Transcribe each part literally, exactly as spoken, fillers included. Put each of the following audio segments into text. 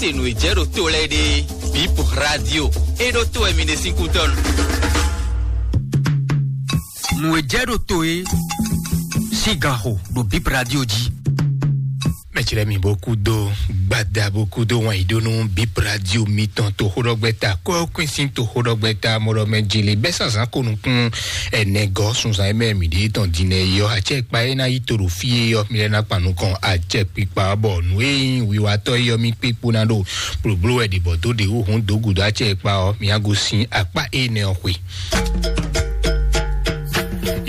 Te nǔ e jɛ ɖo to lɛ́ɛ ɖe, Bip Radio, é ɖó to wɛ mi ɖe sín kútɔ́ nu. Nǔ e jɛ ɖo to é sín ganxo ɖo Bip Radio jí. Mɛtsi lɛ mi bó kú dó gbada bó kú dó wɛn yí ɖó nú Bip Radio mitɔn toxóɖɔgbɛ́ta kɔ́kwín sín toxóɖɔgbɛ́ta mɔɖɔmɛ jele bɛ́ sazán ko nukún ɛnɛ gɔ́ sunzan e mɛ mǐ ɖe tɔn din nɛ yɔ acɛ kpa e ná yi to ɖo fí e yɔ mi lɛ ná kpa nukɔn acɛ kpikpa bɔ nǔ e nyí wiwatɔ́ e yɔ mi kpé kpó ná ɖo blǒbló wɛ ɖě bɔ dó ɖě wú hǔn dó gǔdo acɛ e kpa ɔ́, mi á gosín akpá énɛ́ ɔ́ xwe.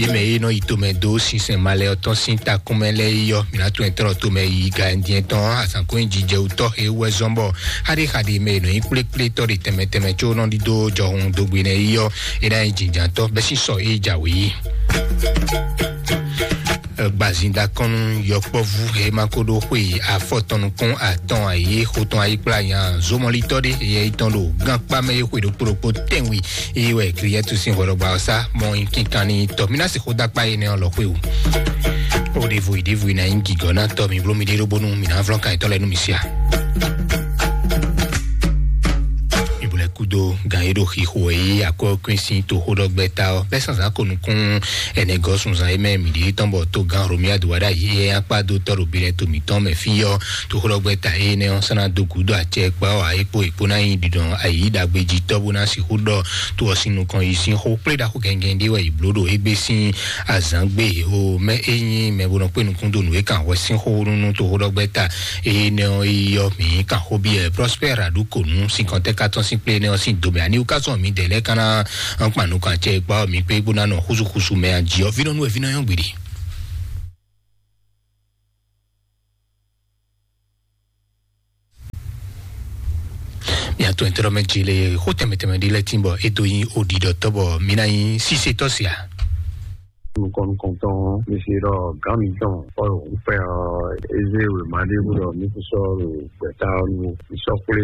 Yě mɛ e nɔ yi tomɛ dó sinsɛn malɛ ɔ́ tɔn sín takúnmɛ lɛ́ɛ yi ɔ́, mǐ ná tunwun ɛ tlɔ́ tomɛ yi gandyɛn tɔn azǎn kó nyí jijɛ wú tɔ́ e wú wɛ zɔ́n bɔ xaɖéxaɖé mɛ e nɔ nyí kplékplé tɔ́ ɖe tɛnmɛ tɛnmɛ có nɔ ɖidó jɔhun dógbe nɛ́ yi ɔ́, é ná nyí jǐnjǎntɔ́ bɛ́ sín sɔ e jǎwe yi. Gbazin da kɔn nú yɔkpɔ́vú e ma ko ɖó xwe afɔtɔn nukún atɔn ayé xotɔn ayíkplá nya zomɔlitɔ́ ɖé yɛ yi tɔn ɖo gánkpá mɛ e xwe ɖokpó ɖokpó tɛnwi e wɛ Kliyɛtu sín hwɛɖɔgba ɔ́ sá mɔ nyi kínkan ní tɔ. Mi ná sixú dó akpá énɛ́ ɔ́ lɔ xwé o. O ɖevo yi ɖevo yi ná nyí gǐgɔ́ ná tɔ mi bló mi ɖé ɖó bónú mi ná vlɔ́n kan yětɔn lɛ́ɛ nú mi sia. Ìbúlẹ̀ kúdó gan e ɖo xixo e yí akɔ́kún sín toxóɖɔgbɛ́ta ɔ́ bɛ́ sánzán ko nukún ɛnɛ gɔ́ sunzan e mɛ mǐ ɖíe tɔn bɔ togán Romia do wá ɖo ayǐ e akpá dó tɔ́ ɖo binɛ to mǐtɔn mɛ fí ɔ́. Toxóɖɔgbɛ́ta énɛ́ ɔ́ sɔ́ ná dó gǔdo acɛ kpa ɔ́ ǎ é kpó è kpó ná nyí ɖiɖɔ ayǐ ɖagbe jí tɔ́ bó ná sixú ɖɔ to ɔ́ sín nukɔn yi sín xó kplé ɖaxó gɛngɛn ɖé wɛ è blǒ ɖo égbé sín azǎn gbé o mɛ é nyí mɛ bó nɔ kpé nukún dó nǔ e kan hwɛ sín xó nú toxóɖɔgbɛ́ta énɛ́ ɔ́ yi ɔ́ mǐ kan xó byɔ́ Prospère Aɖukonu sín kɔntɛ́ katɔ́n sín kplé énɛ́ ɔ́ sín domɛ ani wúkásɔn mǐdɛɛ lɛ́ɛ ka ná kpan nukɔn acɛ e kpa ɔ́ mǐ kpé bó ná nɔ xúsúxúsú mɛ a jí ɔ́ vínɔ́ nú wɛ vínɔ́ nyɔ́ gběɖe. Mia to ɛntɛ́ mɛ jí le xó tɛmɛ tɛmɛ ɖé lɛ́ tín bɔ é dó nyí oɖiɖɔtɔ́ bɔ mí ná nyí sísetɔ́ sia. Nukɔn nukɔntɔn mi se ɖɔ gán mi tɔn ɔyɔ ŋkpɛ ɔ eze wema ɖé bó ɖɔ mi kú sɔ ɖo gbɛta ɔ nu mi sɔ kplé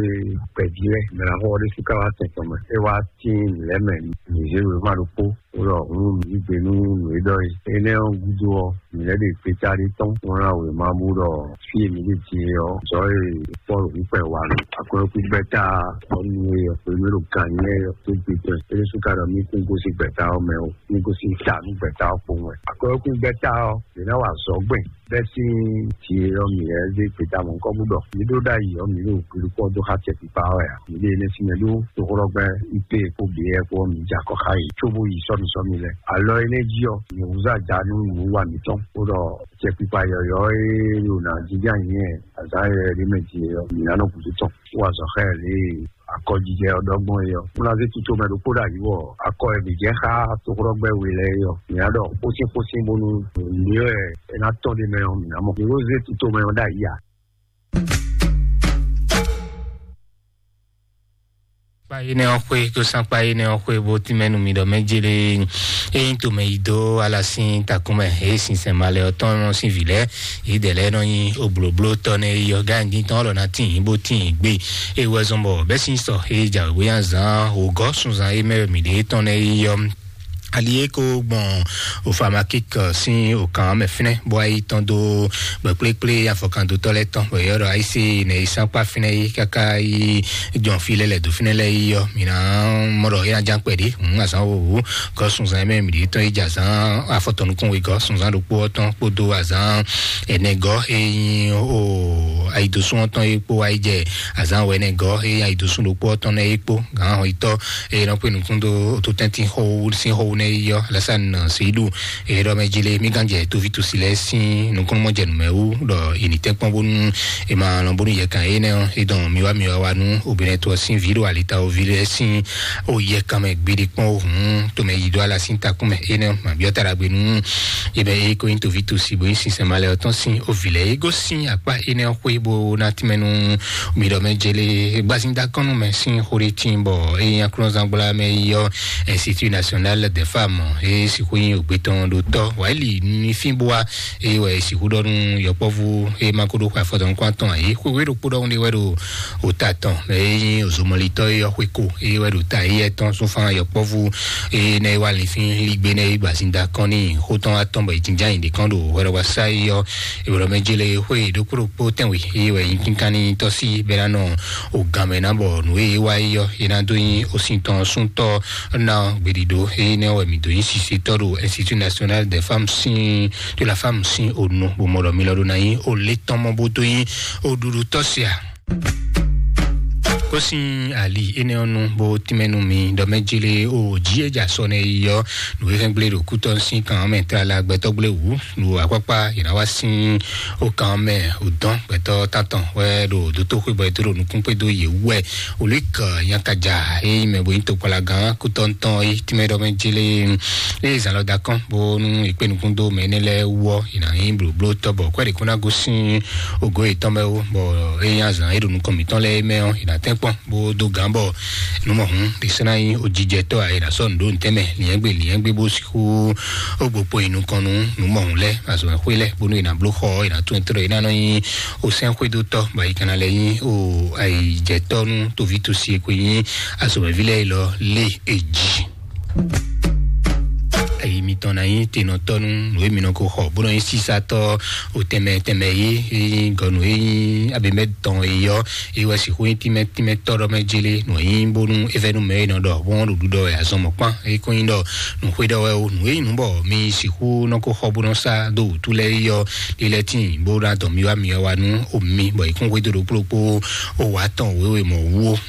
gbɛjí lɛ mɛ na xɔ ɖé sika wa tɛn tɔn mɛ é wa tín lɛ mɛ mi ze wema ɖokpó. Wúlɔ hun yí gbe nú nǔ e ɖɔ é. Énɛ́ ɔ́ gúdo ɔ́, mǐ lɛ́ ɖe gbeta ɖé tɔn wlán wěma bú ɖɔ fí e mǐ ɖe din é ɔ́, zɔ e Pɔ́lu wíkpɛ wa nɔ. Akwɛ́kú gbɛ́ta ɔ́ nu e ɔ́, pé mí ɖo gan nyɛ ɔ́ tó gbe tɔn. É ɖésú ka ɖɔ mí kún gosín gbɛ́ta ɔ́ mɛ ó, mí gosín ta nú gbɛ́ta ɔ́ kpowun wɛ. Akwɛ́kú gbɛ́ta ɔ́, yě ná wa azɔ̌ gbɛn. Bɛ́ sín jǐ e ɔ́ mǐ lɛ́ zé gbeta mɔ̌hunkɔ́ bú ɖɔ mǐ ɖó ɖ'ayǐ ɔ́, mǐ ɖo hwilíkpɔ́ dó xá tɛkpikpa ɔ́ wɛ a? Mǐ ɖe énɛ́ sín mɛ ɖó toxóɖɔgbɛ́ I P E kpó B E kpó ɔ́, mǐ jɛ akɔ xá yě cóbó yi sɔ́misɔ́mi lɛ́ɛ. Alɔ énɛ́ jí ɔ́, mǐ húzú aja nú nǔwiwa mǐtɔn, bó ɖɔ tɛkpikpa yɔ̌yɔ́ e ɖo nǎ jínjɔ́n ayǐ nyi azǎn yɔ̌yɔ́ ɖé mɛ din é ɔ́, mǐ ná nɔ gǔdo tɔn, bó wa azɔ̌ xá ɛ lě e akɔjijɛ ɔ́ ɖɔ gbɔn é ɔ́. Bó ná zé tutomɛ ɖokpó ɖo ayǐ wɔ akɔ e mǐ jɛ xá toxóɖɔgbɛ́ we lɛ́ɛ é ɔ́, mǐ ná ɖɔ xósín xósín bónú nǔɖé wɛ é ná tɔ́n ɖ'é mɛ ɔ́, mǐ ná mɔ. Mǐ ko zé tutomɛ ɔ́ ɖ'ayǐ a? Kpa énɛ́ ɔ́ xwé, kó sán kpa énɛ́ ɔ́ xwé, bó tínmɛ nú mi ɖɔ mɛ jélé. Ényí tomɛ yi dó ala sín takúnmɛ, é sinsɛn malɛ ɔ́ tɔn sín vǐ lɛ́ɛ, yědɛɛ lɛ́ɛ nɔ nyi oblǒbló tɔ́ nɛ́ yi ɔ́, gǎn dín tɔn ɔ́ lɔ ná tín yǐ bó tín yǐ gbé. É wɛ zɔn bɔ bɛ́ sín sɔ é jǎwe bóyá zǎn wǒgɔ́ sunzan é mɛ wɛ mǐ ɖě tɔn nɛ́ yi ɔ́. Ali e ko gbɔn ofamakik sín okan mɛ fínɛ́ bó wá yi tɔn dó gbɛkplékplé afɔkandotɔ́ lɛ́ɛ tɔn bɔ yɔ́ ɖɔ ayísí nɛ yi sánkpá fínɛ́ yi káká yi jɔn fí lɛ́ lɛ̌ dó fínɛ́ lɛ́ɛ yi ɔ́, mǐ ná mɔ ɖɔ é ná ján kpɛɖé hǔn azǎn wowu gɔ́ sunzan mɛ mǐ ɖě tɔn yi jɛ azǎn afɔtɔnukún wegɔ́ sunzan ɖokpó ɔ́ tɔn kpódó azǎn ɛnɛgɔ́ e nyí o ayidosún ɔ́ tɔn yi kpó wá yi jɛ azǎn wɛnɛgɔ́ e nyí ayidosún ɖokpó ɔ́ tɔn nɛ́ yi kpó gǎn hɔnyitɔ́ eye nɔ kpé nukún dó ototɛntin xɔwu sín xɔwu nɛ yi yɔ lɛsàn seidu eye ɖɔ mɛ jile mí gán jɛ tóví tosi lɛ sín nukúnnú mɔ jɛ nǔmɛ wú ɖɔ ìní tɛn kpɔn bónú e ma lɔn bónú yɛ kan eye nɛ ɔ e dɔn mi wá mi wá wá nú obìnrin tó sín ví ɖo alita ovi lɛ sín o yɛ kan mɛ gbiɖi kpɔn o hùn tomɛ yi dó ala sín takún mɛ eye nɛ ma biɔ ta ɖagbe nú e bɛ e ko nyi tóví tosi bó nyi sinsɛn ma lɛ ɔtɔn sín ovi lɛ e gosín akpá ene ɔ́ xwé bó ná tínmɛ nú mi ɖɔ mɛ jele gbazin dakɔnu mɛ sín xó ɖé tín bɔ e nyi aklɔnzangblá mɛ yi ɔ Institut National de Fam e sixú nyi ògbé tɔn ɖo tɔ wàyílì ní fínbúwa, eye wɛ sixú ɖɔ nú yɔkpɔ́vú e ma ko ɖó xwe afɔtɔn nukún atɔn ǎ é. Xwéwé ɖokpó ɖɔhun ɖé wɛ ɖo ota tɔn mɛ e nyi òzomɔlitɔ́ e yɔ xwé ko, eye wɛ ɖo ta eyɛ tɔn súnfán yɔkpɔ́vú e nɛ e wá linfín ligbe nɛ e gbazinda kɔn ní xó tɔn atɔn bɔ ìjínjá nyi ɖě kɔn ɖo hwɛɖɔgbasá e yɔ ìwòlɔmɛjele xwé ɖokpó ɖokpó tɛnwe, eye wɛ nyi kínkan ní tɔ́sí bɛ́ ná nɔ ògǎn mɛ ná bɔ nǔ e é wá é yɔ é ná dó nyi osin tɔn súntɔ́ ná gbeɖiɖo énɛ́ wɛ mǐ dó nyí sisetɔ́ ɖo Institut National des Femmes sín, de la Femme sín onu bó mɔ ɖɔ mi lɔ ɖó ná nyí o lé tɔn mɔ bó dó nyí o ɖuɖu tɔ́ sia. Kó sín ali énɛ́ ɔ́ nu bó tínmɛ nú mi ɖɔ mɛ jele o jí é dza sɔ nɛ yi ɔ́, nǔ e hɛn gblé ɖo kútɔ́ sín kan mɛ tlala gbɛtɔ́ gblé wǔ, nǔ akpákpá yě ná wá sín o kan mɛ o dɔn gbɛtɔ́ tantɔn wɛ ɖo dótó xwé bɔ é tó ɖo nukún kpé dó yě wú wɛ. Olík nyakaja e nyí mɛ bo nyí tokpalagán kútɔ́ntɔn e tínmɛ ɖɔ mɛ jele e zan lɔ da kɔn bónú è kpé nukún dó mɛ énɛ́ lɛ́ɛ wú ɔ́, è nǎ nyí blǒbló tɔ́ bɔ kwɛ́ ɖě kún ná gosín ògo yětɔn mɛ wú, bɔ é nyí azǎn e ɖo nukɔn mǐtɔn lɛ́ɛ mɛ ɔ́, è nǎ tɛ́nkpɔ́n bó dó gǎn bɔ nǔ mɔ̌hun ɖě sɔ́ ná nyí ojijɛtɔ́ ǎ, è nǎ sɔ́ nǔ ɖó ntɛ́nmɛ liɛ́ngbé liɛ́ngbé bó sixú ó gbo kpo nyi nukɔn nú nǔ mɔ̌hun lɛ́ɛ, azɔ̌mɛxwé lɛ́ɛ, bónú è nǎ bló xɔ ɔ́, è nǎ tún ɛ tlɔ́, è ná nɔ nyí osɛ́nxwédótɔ́, bɔ è ka ná lɛ́ nyí o ayǐjɛtɔ́ nú toví tosi e ko nyí azɔ̌mɛví lɛ́ɛ élɔ́ lé è jí. Ayi mitɔn ná nyí tenɔtɔ́ nú nǔ e mi nɔ ko xɔ bó nɔ nyí sísatɔ́ o tɛnmɛ tɛnmɛ yé, e nyí gɔnu e nyí abimɛ tɔn e yɔ, e wɛ sixú nyí tínmɛ tínmɛ tɔ́ ɖɔ mɛ jélé nǔ e nyí bónú é vɛ́ nú mɛ e nɔ ɖɔ bó nɔ ɖo ɖuɖɔ wɛ azɔn mɔ̌kpán e kɔn nyí ɖɔ nǔxwé ɖɔ wɛ o, nǔ e nyí nǔ bɔ mi sixú nɔ ko xɔ bó nɔ sá dó wǔtu lɛ́ɛ yi ɔ́, lilɛ tíin bó ná dɔn mi wá mi wá nú omi bɔ yi kún xwédo ɖokplokpó o wá tɔn wěwe mɔ wú o.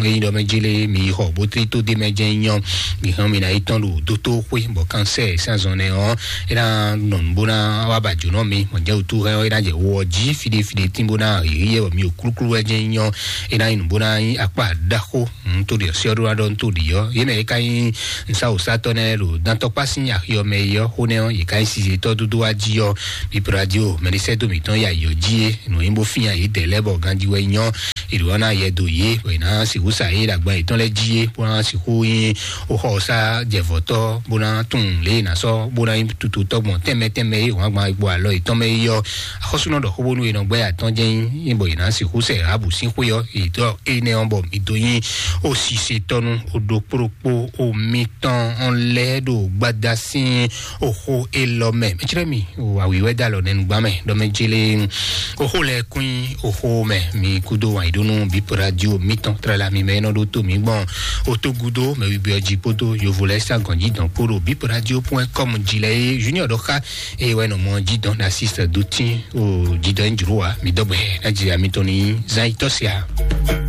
Eyi ɖɔ mɛ jélé mi yi xɔ bó tlí tó dé mɛ jẹ́ nyɔ mi hàn mi ná yi tɔn ɖo dótó xwé bɔ kánsɛ sánzɔn nɛ ɔ́, é ná nɔ nú bó ná wá ba jǒnɔ mi mɔ jẹ́ wútu hɛn ɔ́, é ná jɛ wɔ jí fide fide tín bó ná yě yɛ bɔ mi o klúklú wɛ jẹ́ nyɔ, é ná yi nú bó ná yi akpá ɖaxó. Ntòɖi ɔ́, sɛ́ ɔ́ ɖó ná ɖɔ ntòɖi ɔ́, yě mɛ yě ká nyí nsawòsátɔ́ nɛ́ ɖo dantɔkpá sín axi ɔ́ mɛ é ɔ́, xó nɛ́ ɔ́, yě ká nyí sizetɔ́ dúdú wá jí ɔ́, Bip Radio mɛɖisɛ́dó mǐtɔn ya yǒ jí é, nǔ nyí bó fínya yě dɛ̌ lɛ́ɛ bɔ ganjí wɛ nyɔ́, è ɖǒ ná yɛ do yě, bɔ è nǎ sixú sa yé ɖo agban yětɔn lɛ́ɛ jí é, bó ná sixú nyí xó xɔ ɔ́ sá jɛvɔ̌tɔ́, bó ná tunwun lě è nǎ sɔ́, bó ná nyí tututɔ́ gbɔn tɛnmɛ tɛnmɛ é wǎn gban gbo alɔ yětɔn mɛ é ɔ́, axɔ́súnɔ ɖɔ xó bónú è nɔ gbɛ́ atɔ́ jɛ́n nyí, bɔ è nǎ sixú sɛ Rahabu sín xwé ɔ́, è tɔ́ énɛ́ ɔ́ bɔ mǐ dó nyí ó sisetɔ́ nú ó ɖokpó ɖokpó ó mítɔn ɔ́ lɛ́ɛ ɖo gbada sín oxó élɔ́ mɛ. Mɛcɛ́rɛ mi, o awǐwɛ́ dó alɔ nɛnugba mɛ ɖɔ mɛ jélé oxó lɛ́ɛ kún nyí oxó mɛ. Mi kúdó wǎn yí ɖó nú Bip Radio mítɔn tlala mi mɛ é nɔ ɖó tó mǐ gbɔn otógúdó mɛ wíwí ɔ́ jí kpódó yovo lɛ́ɛ sá gɔn jí dɔn kpó ɖo Bip Radio point com jí lɛ́ɛ é Junior ɖɔ xá eye wɛ nɔ mɔ jí dɔn ɖo así sɛ dó tín o jí dɔn é jló wa mi dɔgbɛ ná jí ami tɔn ní zán yi tɔ́ sia.